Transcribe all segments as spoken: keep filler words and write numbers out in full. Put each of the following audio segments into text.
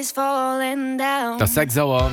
Et ass sechs Auer.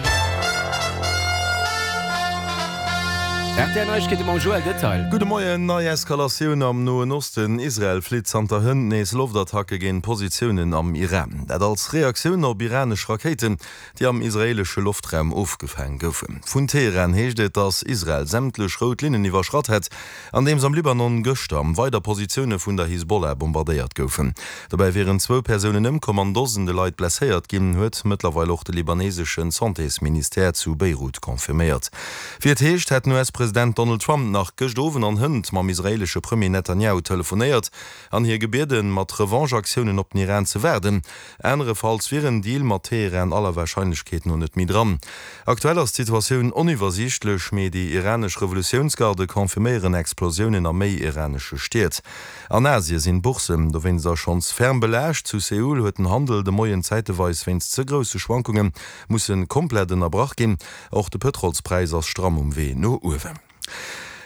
R T L Neiegkeete mam Joël Detail. Gudde Moien. Nei Eskalatioun am Noen Osten, Israel flitt zanter hënt nees Loftattacke géint Positiounen am Iran. Dat als Reaktioun op iranesch Rakéiten, déi am israeelesche Loftraum ofgefaang goufen. Vun Teheran heescht et, datt Israel sämtlech rout Linnen iwwerschratt hätt, andeems am Libanon gëschter weider Positioune vun der Hisbollah bombardéiert goufen. Dobäi wieren zwou Persounen ëmkomm an Dosende Leit blesséiert ginn, huet mëttlerweil och de libaneesesche Santésministère zu Beirut confirméiert. Wéi et heescht, hätt den U S-President Donald Trump nach gëscht Owend an hënt mam israeelesche Premier Netanjahu telefonéiert an hie gebieden, mat Revanche-Aktiounen op den Iran ze waarden. Anerefalls wier en Deal mat Teheran aller Warscheinlechkeet no net méi dran. Aktuell ass d'Situatioun oniwwersiichtlech, mee déi iranesch Revolutiounsgarde confirméieren Explosiounen a méi iranesche Stied. An Asie sinn d'Bourssen dowéinster schonns ferm belaascht. Zu Seoul huet den Handel de Moien zäiteweis wéinst ze grousse Schwankunge musse komplett ënnerbrach ginn. Och de Pëtrolspräis ass stramm um Wee no uewen.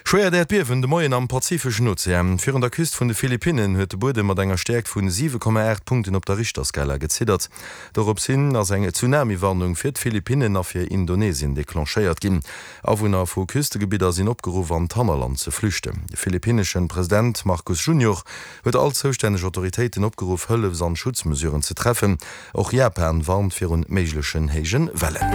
Schwéiert Äerdbiewen de Moien am Pazifeschen Ozean. Virun der Küst vun de Philippinnen huet de Buedem mat enger Stäerkt vun siwe Komma aacht Punkten op der Richterskala geziddert. Dorops hin ass eng Tsunami-Warnung fir d'Philippinnen a fir Indonesien declenchéiert ginn. Awunner vu Küstegebidder sinn opgeruff an d'Hannerland ze flüchten. De philippinneschen President Marcos Junior huet all zoustänneg Autoritéiten opgeruff Hëllefs an Schutzmesuren ze treffen. Och Japan warnt virun méiglechen héije Wellen.